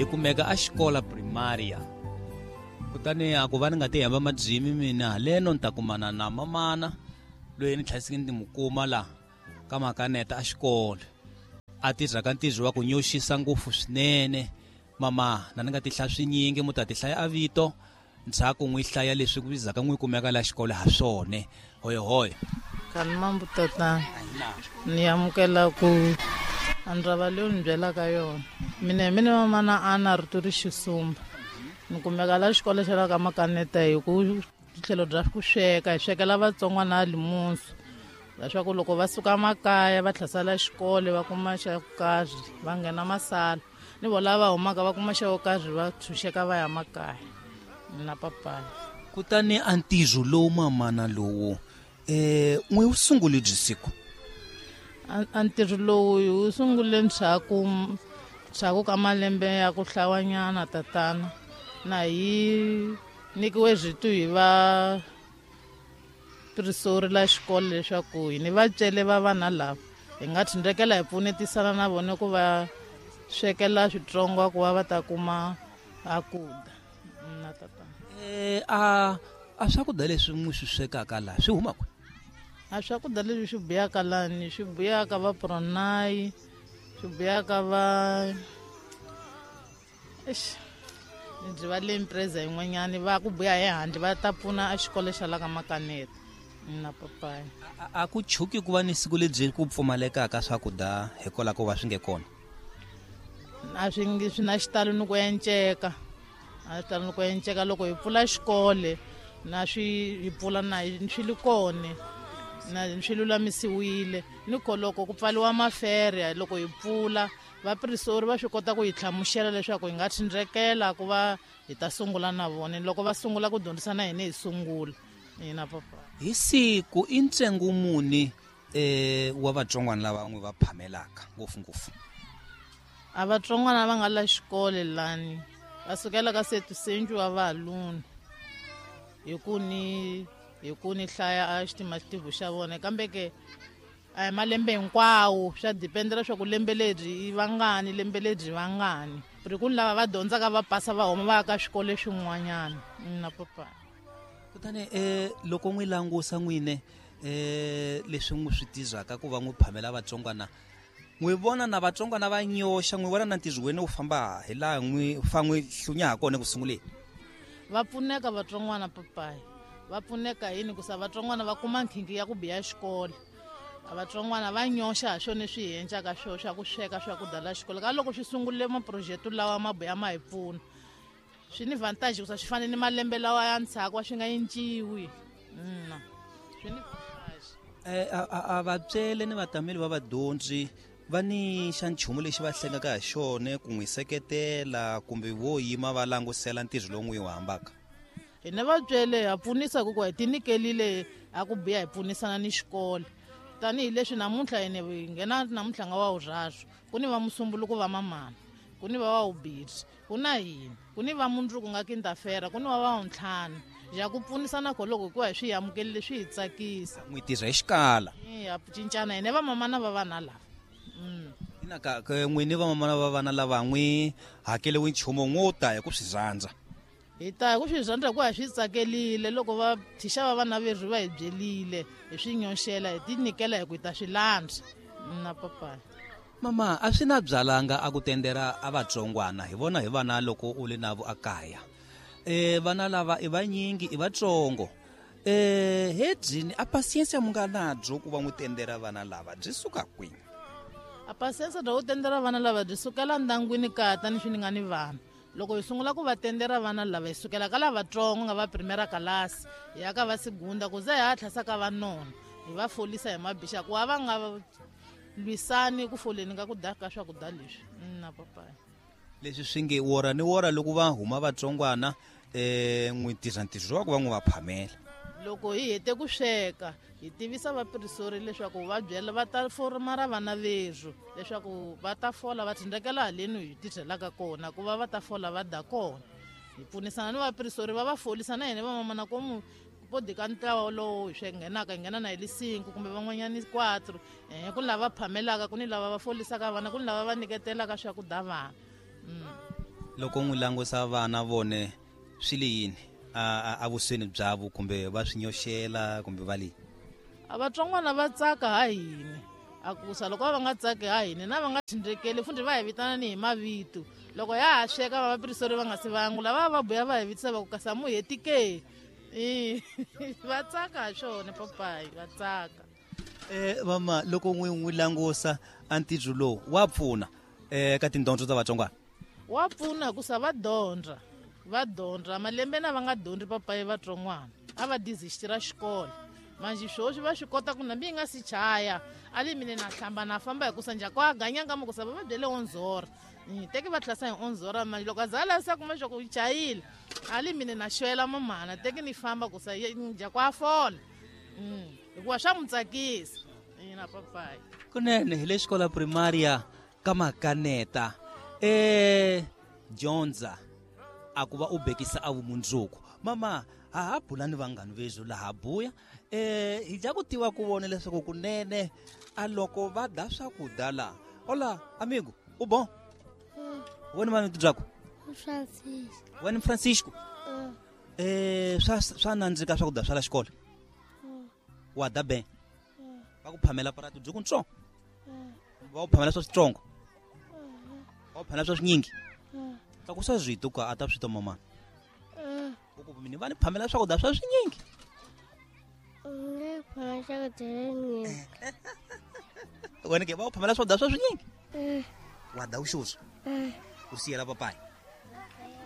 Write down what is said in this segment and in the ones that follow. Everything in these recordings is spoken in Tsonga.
Hi kumeka a xikola primaria. Kutani a ku va ni nga ti hemba madyimi mina haleno ni ta kumana na mamana loyi ni tlhasike ni mu kuma la ka makaneta a xikolo. A tirha ka ntirho wa ku nyoxisa ngopfu swinene. Mama na ni nga ti hlaya swinyingi mu ta ti hlaya a vito ndzhaku n'wi hlaya leswi ku vizaka n'wi kumeka la xikolo ha swone. Hoyohoyo. Kani mambu tatana ni amukela ku a ndrava leyi ni byelaka yona. Mina hi mina mamana a na rito ri xisumba. Ni kumeka la xikolo xa la ka Makaneta hi ku tlhelo bya ku sweka, hi swekela vatsongwana a limunsu. Leswaku loko va suka makaya va tlhasela xikolo va kuma xa ku karhi va nghena masala. Ni vo lava humaka va kuma xa ku karhi va tshunxeka va ya makaya. Na papaya. Kutani a ntirho lowu mamana lowu n'wi wu sungule byi siku? A ntirho lowu hi wu sungule ndzhaku ka malembe ya ku hlawanyana tatana. Na hi nyikiwe rito hi va prisori la xikolo leswaku hi ni vatswele va vana lava hi nga tshindrekela hi pfunetisana na vona ku va swekela switsongo ku va va ta kuma a ku dya. Na tatana. A swakudya leswi n'wi swi swekaka laha swi huma kwihi? A swakudya leswi swi buyaka lani swi buyaka va Pronai, swi buyaka va eish ndzi va le empresa yin'wanyani va ku buya hi handle va ta pfuna a xikolo xa la ka Makaneta na papaya. A ku chuki ku va ni siku lebyi ku pfumalekaka swakudya hikwalaho ko va swi nge kona? A swi nge swi na xitalo ni ku enceka. A xitalo ni ku enceka loko hi pfula xikolo na swi hi pfula na swi li kona na swi lulamisiwile ni ko loko ku pfaliwa mafere loko hi pfula vapirisori va swi kota ku hi hlamusela leswaku hi nga tshindrekela ku va hi ta sungula na vona loko va sungula ku dyondzisa na hina hi sungula hina papa. Hi siku i ntsengo muni wa vatsongwana lava n'wi va phamelaka ngopfungopfu? A vatsongwana va nga la xikolo lani va sukela ka setusenju wa valuni hi ku ni hlaya a xitimativu xa vona kambe ke a hi malembe hinkwawo swa dependela leswaku lembe leri i vangani lembe leri vangani ri ku ni lava va dyondzaka va pasa va huma va ya ka swikolo swin'wanyana na papa. Kutani loko n'wi langusa n'wine leswi n'wi swi tizaka ku va n'wi phamela vatsongwana n'wi vona na vatsongwana va nyoxa n'wi vona na ntirho wena wu famba hi laha n'wi fa n'wi hlunya ha kona ku sunguleni? Va pfuneka vatsongwana papayi, va pfuneka yini ku sa vatsongwana va kuma nkhinkhi ya ku biya xikolo. Vatsongwana va nyoxa ha swona leswi hi endlaka swona swa ku sweka swakudya la xikolo ka loko swi sungurile maproject lawa ma buya ma hi pfuna swi ni vantage ku sa swi fane ni malembe lawa ya ndzhaku a swi nga cinciwi. Swi ni vantage. A vatswele ni vatameli va vadyondzi va ni xa nchumu lexi va hlengaka ha xona ku n'wi seketela kumbe vo yima va langusela ntirho lowu n'wi wu hambaka? Hina vatswele ha pfunisa ku hi tinyikelile a ku biha hi pfunisana ni xikolo tanihileswi namuntlha hina hi nghena namuntlha nga wa vurharu ku ni va musumbuluko va mamana ku ni va wa vubirhi ku na hina ku ni va mundzuku nga quinta-feira ku ni va va vuntlhanu ya ku pfunisana ko loko hikuva hi swi amukelile swi hi tsakisa. N'wi tirha hi xikala. Ya cincana hina va mamana va vana lava. Ina ka n'wini va mamana va vana lava n'wi hakeliwi nchumu n'wo ta hi ku swi rhandza. Hi ta hi ku swi rhandza hikuva hi swi tsakelile loko va thixa va vana verhu va hi byelile hi swi nyoxela hi ti nyikela hi ku hi ta swi landza na papaya. Mama a swi na byalanga a ku tendera a vatsongwana hi vona hi vana loko u le navo a kaya. Vana lava i vanyingi i vatsongo. Hedzini a pasiensa mu nga nabyo ku va n'wi tendera vana lava byi suka kwini? A pasiensa bya ku tendera vana lava byi sukela ndyangwini kaya tanihi ni nga ni vana. Loko hi sungula ku va tendera vana lava hi sukela ka lavatsongo nga va primera kalasi hi ya ka va segunda ku ze hi hatlisa ka va nona hi va folisa hi mabixa ku va va nga lwisani ku foleni ka ku dya ka swakudya leswi na papaya. Leswi swi nge wora ni wora loko va huma vatsongwana n'wi tirha ntirho wa ku va n'wi va phamela. Loko hi hete ku sweka hi tivisa vapirisori leswaku va byela va ta foromara vana verhu leswaku va ta fola va tshindrekela haleni hi tirhelaka kona ku va va ta fola va da kona. Hi pfunisana ni vapirisori va va folisa na hina vamamana komu podi ka ntlawa lowu hi swi nghenaka hi nghena na hi lisinko kumbe van'wanyani 4 ku ni lava phamelaka ku ni lava va folisaka vana ku ni lava va nyiketelaka swakudya vana. Loko n'wi langusa vana vone swi le yini a vusweni byavo kumbe va swi nyoxela kumbe va le a vatsongwana va tsaka ha hini a kusa loko va nga tsaki ha hini na va nga tshindrekeli fundi va hi vitana ni hi mavito loko ya ha sweka va vapirisori va nga se vangula va va buya va hi vitisa va ku kasi a mu heti ke va tsaka ha swona papayi va tsaka. Mama loko n'wi langusa a ntirho lowu wa pfuna ka tindyondzo ta vatsongwana? Wa pfuna hikusa va dyondza malembe na va nga dyondzi papayi vatsongwana a va dizixitira xikolo manje swoswi va swi kota ku nambi yi nga si chaya a li mine na hlamba na famba hikusa njhako a ganyanga mukusa va va byele onzora teki va tlhasa hi onzora manje loko a za a lavisa kuma swa ku chayile a li mine na xwela mamana teki ni famba kusa njhako a fola hikuva swa n'wi tsakisa na papayi. Kunene hi le xikola primaria ka Makaneta dyondza a ku va u bekisa a vumundzuku. Mama ha ha bula ni vanghani vezu laha buya hi dya ku tiva ku vona leswaku kunene a loko va da swakudya la. Hola amigo, u bon? Wena mani byako? Francisco. Wena Francisco? Swa nandzika swakudya swa la xikolo? Wa da ben? Va ku phamela prato byi ku ntsongo? Va ku phamela swa switsongo? Va ku phamela swa swinyingi? Tlakusa swito ka a ta swi twa mama. U ku mina va ni phamela swakudya swa swinyingi. Wena ke va ku phamela swakudya swa swinyingi? Wa da u xuswa? U siyela papayi?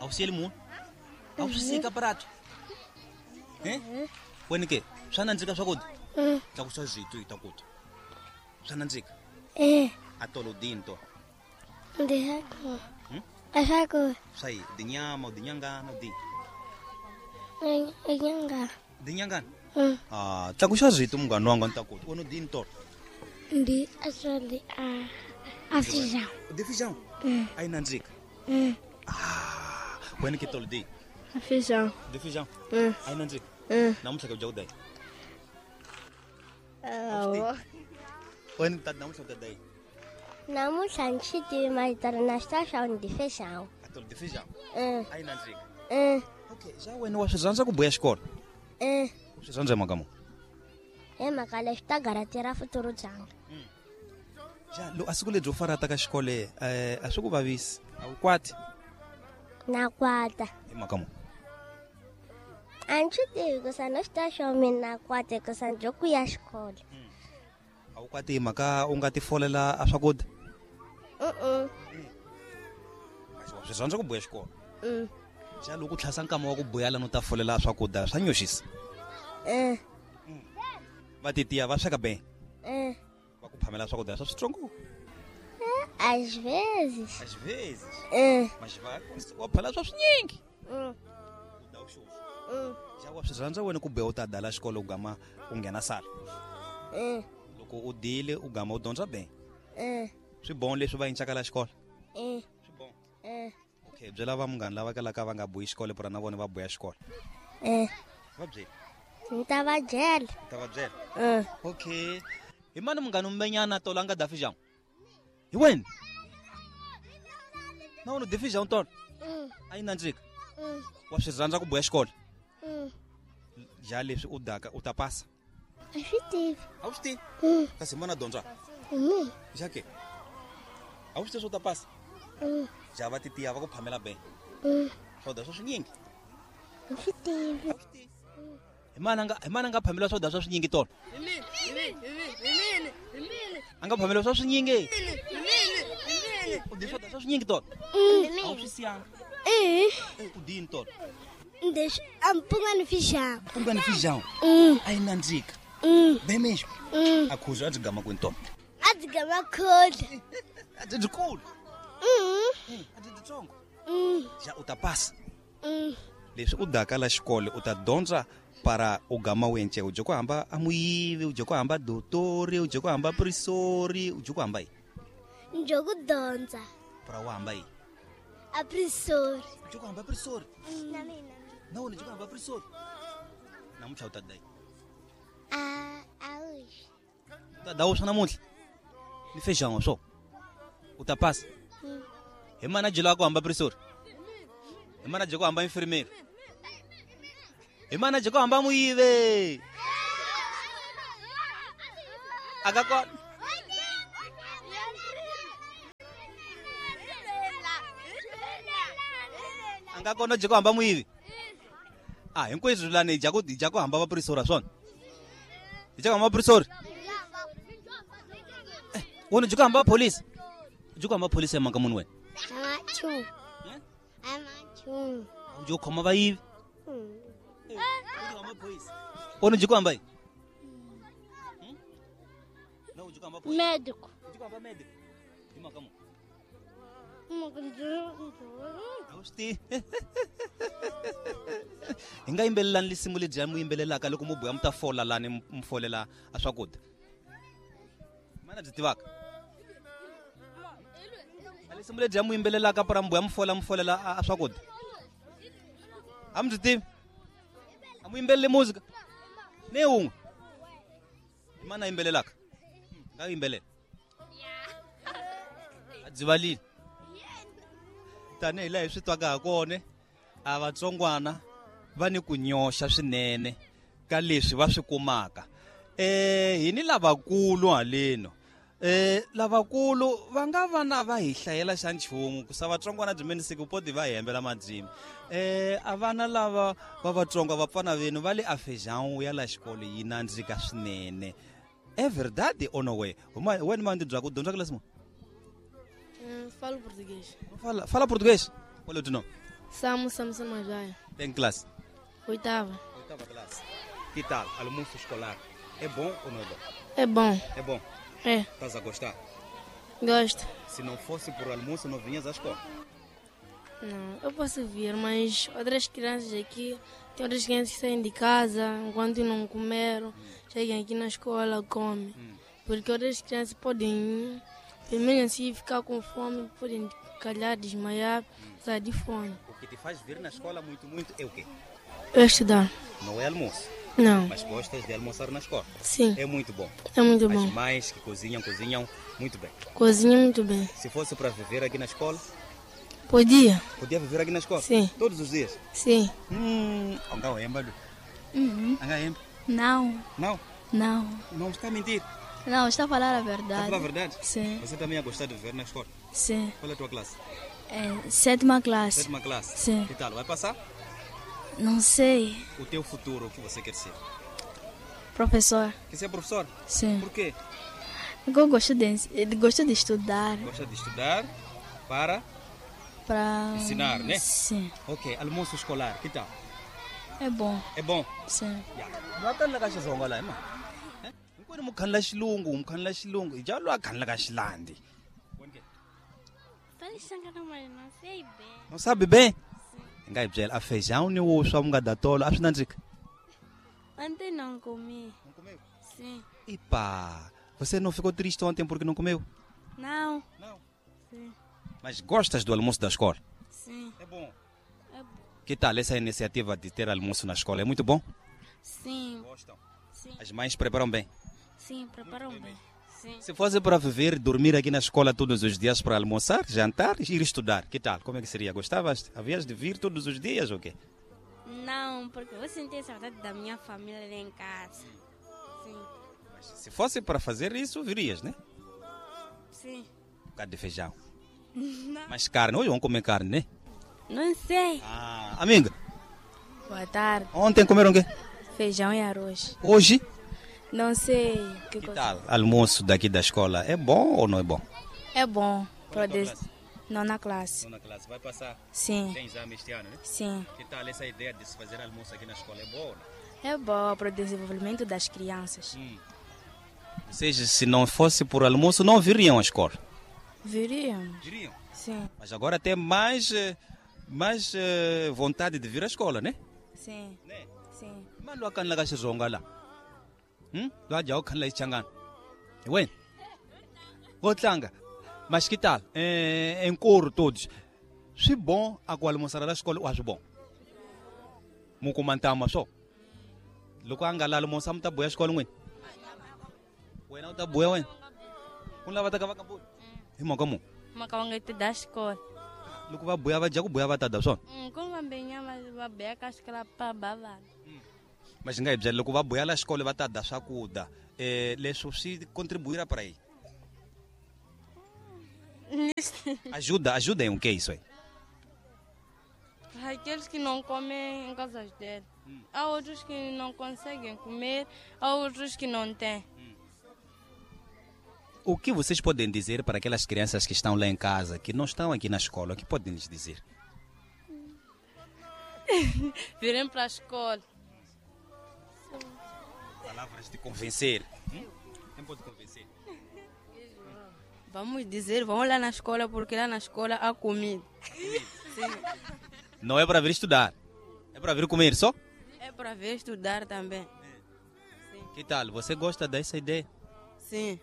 A wu siyeli munhu? A wu swi sika prato? Wena ke swa nandzika swakudya? Tlakusa swito hi ta ku twa. Swa nandzika? A tolo dinto. Ndi swaku. Swa yi dinyama, dinyangana, di. Dinyangana. Dinyangana? Ah, tlakusa swito munghana wanga ni ta ku twa. Wena dini tolo? Ndi a ndi a feijão. Di feijão? A yi nandzika? Ah, wena ke tolo di? Feijão. Di feijão? A yi nandzika? Namuntlha ke dya ku dai? Wena tata namuntlha u ta dai? Namuntlha ni swi tivi mahitana na swi ta swa ndi feijão. A tolo di feijão? A yi nandzika? Okay, xa wena wa swi rhandza ku buya xikolo? U swi rhandza hi mhaka muni? Hi mhaka leswi ta garatira futuro byanga. Xa lo a siku lebyi u farata ka xikolo a swi ku vavisi? A wu kwati? Na kwata. Hi mhaka muni? A ni swi tivi hikusa no swi ta swa mina na kwata hikusa ni byo ku ya xikolo. A wu kwati hi mhaka u nga ti folela a swakudya? Swi rhandza ku buya xikolo? Xa loko u tlhasa nkama wa ku buya lani u ta folela swakudya swa nyoxisa? Va titiya va sweka be? Va ku phamela swakudya swa switsongo? Às vezes. Às vezes? Mas va wa phamela swa swinyingi? U da u xuxa. Xa wa swi rhandza wena ku buya u ta dala xikolo u gama u nghena sala? Loko u dile u gama u dyondza be? Swi bon leswi va yincaka la xikolo? Swi bon? Okay, byela va munghana lava kalaka va nga buyi xikolo pura na vona va buya xikolo. Va byeli? Ni ta va byela. Ni ta va byela? Okay. Hi mani munghana umbenyana tolo a nga da feijão? Hi wena? Na wena u di feijão tolo? A yi nandzika? Wa swi rhandza ku buya xikolo? Dya leswi u daka u ta pasa? A swi tivi. A wu swi tivi? Kasi mana dyondza? Dya ke? A wu swi tivi swo ta pasa? Dya va titiya va ku phamela be? Swakudya swa swinyingi? A swi tivi. A swi tivi. Hi mana nga phamela swakudya swa swinyingi tolo? A nga phamela swa swinyingi? U dyi swakudya swa swinyingi tolo? A wu swi siyanga? U dyi yini tolo? A mpunga ni feijão. Mpunga ni feijão? A yi nandzika? Bem mesmo? A khuza a byi gama kwini tolo? A byi gama khudla. A byi byikulu? A byi byitsongo? Xa u ta pasa? Leswi u daka la xikolo u ta dyondza para u gama wence u dye ku hamba a muyivi, u dye ku hamba dotori, u dye ku hamba prisori, u dye ku hamba yini? Ndzi ku dyondza. Para u hamba yini? A prisori. U dye ku hamba prisori? Na mina. Na wena u dye ku hamba prisori? Namuntlha u ta dya yini? A wuswa. U ta dya wuswa namuntlha? Ni feijão swo? U ta pasa? Hi mana dyela ku hamba prisori? Hi mana dya ku hamba infirmeri? Hi mana dya ku hamba muyive? A nga kona. A nga kona dya ku hamba muyivi? A hinkweswo lani hi dya ku hamba vapurisori swona? Hi dya ku hamba vapurisori? Wena dya ku hamba pholisi? Dya ku hamba pholisi ya mhaka muni wena? Dya ku khoma vayivi? Wena dya ku hamba yini? Médico. Hi nga yimbelelani lisimu ledyiya mu yimbelelaka loko mu buya mu ta fola lani mu folela a swakudya. Mana byi tivaka? A lisimu ledyiya mu yimbelelaka para mu buya mu fola mu folela a swakudya. A mi byi tivi? A mu yimbeleli muzika? Ni wun'we. Hi mana yimbelelaka? Nga yimbelela. A byi tanihi laha hi swi twaka ha kona a vatsongwana va ni ku nyoxa swinene ka leswi va swi kumaka. Hi ni lavakulu haleno. Lavakulu va nga va na va hi hlayela xa nchumu ku sa vatsongwana byi menisiku poti va hi hembela madzimi. A vana lava va vatsonga vapfana venu va le a feijão ya la xikolo yi nandzika swinene. É verdade ou não é? Wena mandi bya ku dyondza classe mo? Falo português. Fala português? Qual é o teu nome? Samu Samson Majaya. Tem classe? Oitava. Oitava classe. Que tal? Almoço escolar. É bom ou não é bom? É bom. É bom? É. Estás a gostar? Gosto. Se não fosse por almoço, não vinhas à escola? Não, eu posso vir, mas outras crianças aqui, tem outras crianças que saem de casa, enquanto não comeram, chegam aqui na escola, comem. Porque outras crianças podem, pelo menos assim, ficar com fome, podem calhar, desmaiar, sair de fome. O que te faz vir na escola muito, muito é o quê? É estudar. Não é almoço? Não. Mas gostas de almoçar na escola? Sim. É muito bom. É muito bom. As mães que cozinham, cozinham muito bem. Cozinham muito bem. Se fosse para viver aqui na escola? Podia. Podia viver aqui na escola? Sim. Todos os dias? Sim. Não. Não? Não. Não está a mentir? Não, está a falar a verdade. Está a falar a verdade? Sim. Você também ia gostar de viver na escola? Sim. Qual é a tua classe? É, sétima classe. Sétima classe? Sim. Que tal? Vai passar? Não sei. O teu futuro, o que você quer ser? Professor. Quer ser professor? Sim. Por quê? Porque eu gosto de estudar. Gosta de estudar para... Para ensinar, né? Sim. Ok, almoço escolar, que tal? É bom. É bom? Sim. Não sabe bem? A feijão nem o só da tolo, acho nandzika. Ontem não comi. Não comeu? Sim. Epa, você não ficou triste ontem porque não comeu? Não. Não? Sim. Mas gostas do almoço da escola? Sim. É bom. É bom. Que tal essa iniciativa de ter almoço na escola? É muito bom? Sim. Gostam? Sim. As mães preparam bem? Sim, preparam bem. Sim. Se fosse para viver, dormir aqui na escola todos os dias para almoçar, jantar e ir estudar, que tal? Como é que seria? Gostavas? Havias de vir todos os dias ou quê? Não, porque eu senti saudade da minha família lá em casa. Sim. Mas se fosse para fazer isso, virias, né? Sim. Um bocado de feijão. Não. Mas carne, hoje vão comer carne, né? Não sei. Ah, amiga. Boa tarde. Ontem comeram o quê? Feijão e arroz. Hoje? Não sei. Que tal? Almoço daqui da escola é bom ou não é bom? É bom. Nona classe. Nona classe. Vai passar? Sim. Tem exame este ano, né? Sim. Que tal essa ideia de se fazer almoço aqui na escola? É boa ou não? É boa para o desenvolvimento das crianças. Ou seja, se não fosse por almoço, não viriam à escola? Viriam. Viriam? Sim. Mas agora tem mais vontade de vir à escola, né? Sim. Né? Sim. Mas lo akanla ka xitsonga la. Lo dya u khanla xichangana. Hi wena. Vo tlanga. Mas que tal? Em coro todos. Swi bom a ku almoçar la xikolo a swi bom. Mu kuma ntama swo. Loko a nga la almoçar mu ta buya xikolo n'wini. Wena u ta buya wena. Ku lava ta ka va ka buya. Hi mhaka mu. Mhaka va nga ti da xikolo. Loko va buya va dya ku buya va ta dya swona? Ku vambe nyama va buya ka xikolo pa ba vana. Mas nga hi byela loko va buya la xikolo va ta dya swakudya. Leswi swi contribuir para aí? Ajuda, ajuda em o que isso aí? Aqueles que não comem em casas dele. Há outros que não conseguem comer, há outros que não têm. O que vocês podem dizer para aquelas crianças que estão lá em casa, que não estão aqui na escola, o que podem lhes dizer? Virem para a escola. Palavras de convencer. Quem pode convencer? Vamos dizer, vão lá na escola, porque lá na escola há comida. Sim. Não é para vir estudar, é para vir comer só? É para vir estudar também. Sim. Que tal? Você gosta dessa ideia? Sim.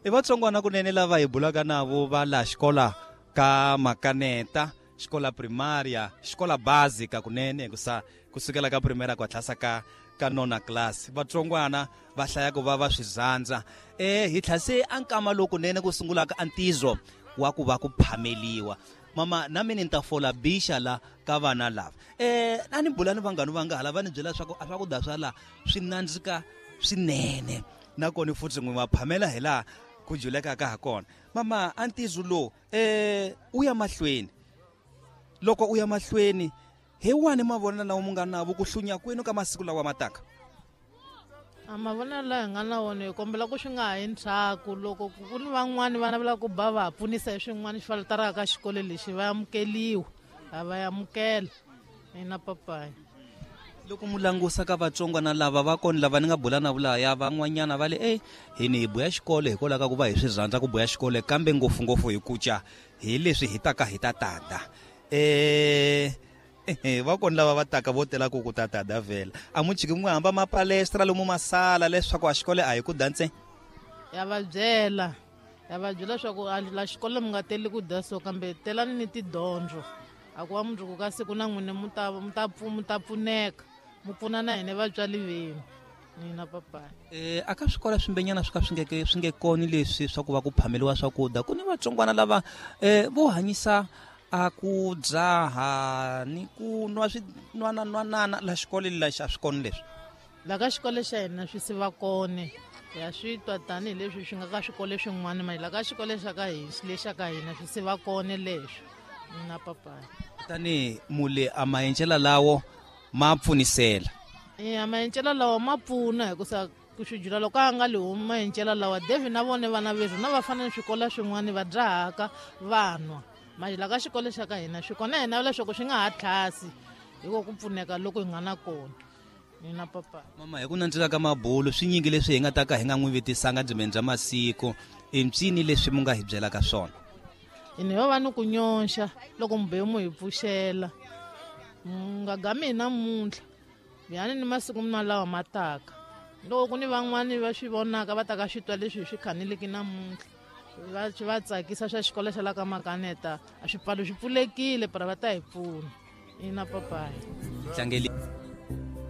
I vatsongwana kunene lava hi bulaka navo va la xikola ka Makaneta, xikola primária, xikola básica kunene kusukela ka primeira ku tlhasa ka nona class. Vatsongwana va hlaya ku va va swi rhandza. Hi tlhase a nkama lowu kunene ku sungulaka a ntizo wa ku va ku phameliwa. Mama na mina ni ta fola bixa la ka vana lava. A ni bula ni vanghani va nga hala va ni byela leswaku a swakudya swa la swi nandzika swinene. Nakona futhi n'wi va phamela hi laha ku julekaka ha kona. Mama a ntizo lowu u ya mahlweni. Loko u ya mahlweni hi wani mavonelo lawa mu nga navo ku hlunya kwenu ka masiku lawa mataka? A mavonelo lawa hi nga na wona hi kombela ku swi nga ha yi ndzhaku. Loko ku ni van'wani vana va lava ku ba va pfunisa hi swin'wana swi falataraka ka xikolo lexi va amukeliwa, a va amukela ina papayi. Loko mu langusa ka vatsongwana lava va kona lava ni nga bula na vulaya van'wanyana va le hini hi buya xikolo hikwalaho ka ku va hi swi rhandza ku buya xikolo kambe ngopfungopfu hi kuca hi leswi hi taka hi ta tada. Va kona lava va taka vo tela ku ta tada vhela. A mu chiki mu hamba mapalestra lomu masala leswaku a xikolo a hi ku dya ntsena. Ya va byela leswaku la xikolo mi nga teli ku dya so kambe telani ni tidyondzo. A ku va mundzuku ka siku na n'wina mu ta pfuneka. Mu pfuna na hina vatswari venu nina papayi. A ka swikolo swimbenyana swi ka swi nge koni leswi swa ku va ku phameliwa swakudya. Ku ni vatsongwana lava vo hanyisa a ku dzaha ni ku nwa swinwananwanana la xikolo lexi a swi koni leswi. La ka xikolo xa hina swi siva kone. Ya swi twa tanihileswi swi nga ka swikolo swin'wana mali la ka xikolo xa ka hina lexa ka hina swi siva kone leswi nina papayi. Tani mule a maendlela lawo ma pfunisela. Maendlela lawa ma pfuna hikusa ku swi loko a nga li humi maendlela lawa David na vona vana vethu na va fana ni swikolo swin'wana va dzahaka va nwa. Manje la ka xikolo xa ka hina swi kona hina leswaku swi nga ha tlhasi hikuva ku pfuneka loko hi nga na kona nina papa. Mama hi ku nandzika ka mabulu swi nyingi leswi hi nga ta ka hi nga n'wi vitisanga dzimeni bya masiku i mpyini leswi mu nga hi byelaka swona? Hina ho va ni ku nyonxa loko mubeu mu hi pfuxela. Nga gami hi namuntlha yani ni masiku malawa ma taka. Loko ku ni van'wani va swi vonaka va taka swi twa leswi hi swi khanileki namuntlha va swi va tsakisa swa xikolo xa la ka Makaneta a swipfalo swi pfulekile para va ta hi pfuna ina papayi. Tlangeli.